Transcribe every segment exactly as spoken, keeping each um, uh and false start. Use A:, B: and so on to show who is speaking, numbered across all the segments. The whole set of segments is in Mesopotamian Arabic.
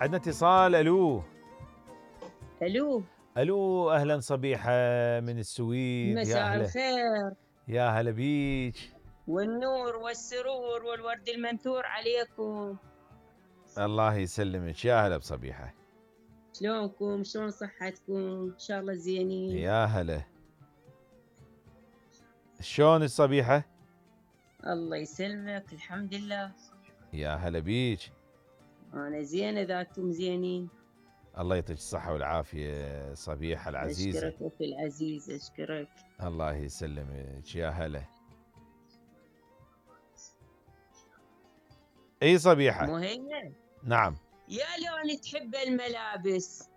A: عندنا اتصال. الو
B: الو
A: الو اهلا صبيحه من السويد. يا
B: مساء
A: هلا،
B: الخير
A: يا هلا بيك.
B: والنور والسرور والورد المنثور عليكم.
A: الله يسلمك، يا هلا بصبيحه.
B: شلونكم؟ شلون صحتكم؟ ان شاء الله زينين.
A: يا هلا، شلون الصبيحه؟
B: الله يسلمك، الحمد لله.
A: يا هلا بيك.
B: انا زينه اذا انتم زينين.
A: الله يعطيك الصحه والعافيه صبيحه العزيزه.
B: اشكرك اخي العزيز، اشكرك.
A: الله يسلمك، يا هلا. اي صبيحه.
B: مهيمن،
A: نعم.
B: يا لون تحب الملابس؟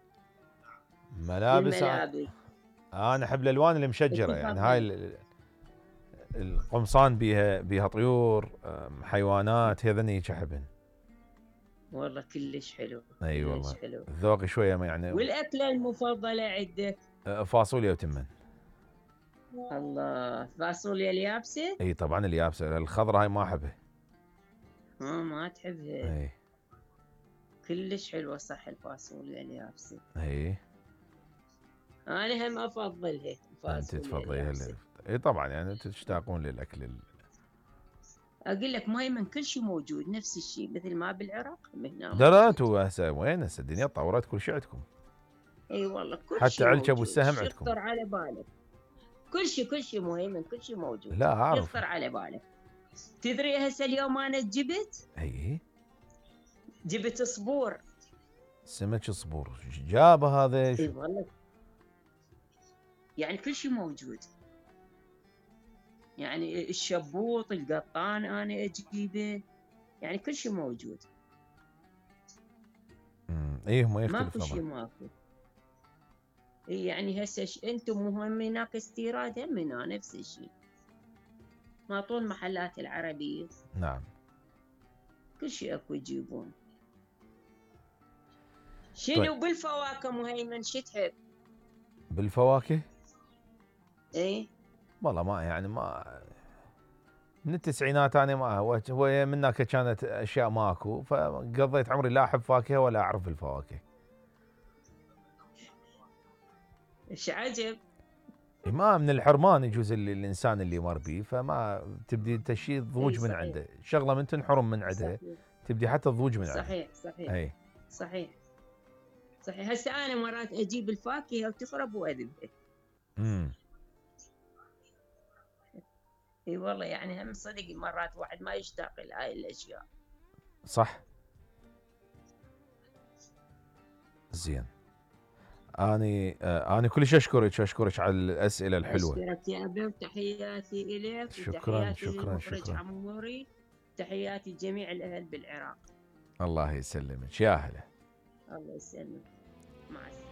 A: ملابس.
B: الملابس
A: انا احب الالوان المشجره، يعني هاي ال- القمصان بيها بيها طيور، أم، حيوانات، هذني هيك احبهن.
B: والله كلش حلو.
A: اي
B: كلش
A: والله
B: حلو.
A: ذوقي شويه ما يعني.
B: والاكله المفضله عندك؟
A: أه، فاصوليا وتمن.
B: الله، فاصوليا اليابسه؟
A: اي طبعا اليابسه، الخضراء هاي ما احبها.
B: ها ما تحبها؟
A: اي
B: كلش حلوة صح الفاصوليا اليابسة.
A: اي
B: أنا هم أفضلها
A: انت
B: الفاصوليا
A: تفضليها
B: اليابسة.
A: اللي... اي طبعا يعني انتم تشتاقون للاكل ال...
B: أقول لك مهيمن كل شيء موجود نفس الشيء مثل ما بالعراق هم هنا
A: لا لا،
B: موجود.
A: انتم هسه وين؟ هسه الدنيا تطورت، كل شيء عندكم.
B: اي والله كل
A: حتى
B: شيء
A: علكب
B: موجود.
A: والسهم
B: شو
A: عندكم.
B: يخطر على بالك؟ كل شيء كل شيء مهيمن، كل شيء موجود.
A: لا اعرف.
B: يخطر على بالك. تدري هسه اليوم أنا جبت
A: اي
B: جبت صبور.
A: سمك صبور جابه هذا.
B: اي والله يعني كل شيء موجود. يعني الشبوط القطان أنا أجيبه، يعني كل شيء موجود.
A: امم ايه ما يختلف
B: ماكو شيء
A: طبعا.
B: ماكو. اي يعني هسه ش... انتم مهم هناك استيراد هم هنا نفس الشيء. ما طول المحلات العربية
A: نعم.
B: كل شيء اكو يجيبون. شنو
A: طيب.
B: بالفواكه مهيمن شو تحب؟
A: بالفواكه
B: اي
A: والله ما يعني ما من التسعينات انا ما هو هو من هناك كانت اشياء ماكو، فقضيت عمري لا احب فاكهه ولا اعرف بالفواكه.
B: ايش عجب.
A: ما من الحرمان يجوز اللي الانسان اللي مر بيه، فما تبدي انت شيء تضوج من
B: صحيح.
A: عنده، شغله من تنحرم من عندها
B: صحيح
A: تبدي حتى تضوج من عنده.
B: صحيح صحيح
A: اي
B: صحيح صحيح. هسه انا مرات اجيب الفاكهه وتخرب واذبها.
A: امم
B: اي والله يعني هم صدق مرات واحد ما يشتاق لهاي الاشياء.
A: صح. زين. اني آه اني كلش اشكرك اشكرك على الاسئله الحلوه.
B: اشكرك يا ابي، وتحياتي اليك
A: شكرا
B: وتحياتي
A: شكرا
B: للمخرج
A: شكرا.
B: عموري، تحياتي لجميع الاهل بالعراق.
A: الله يسلمك، يا هلا.
B: الله يسلمك، مع السلامه.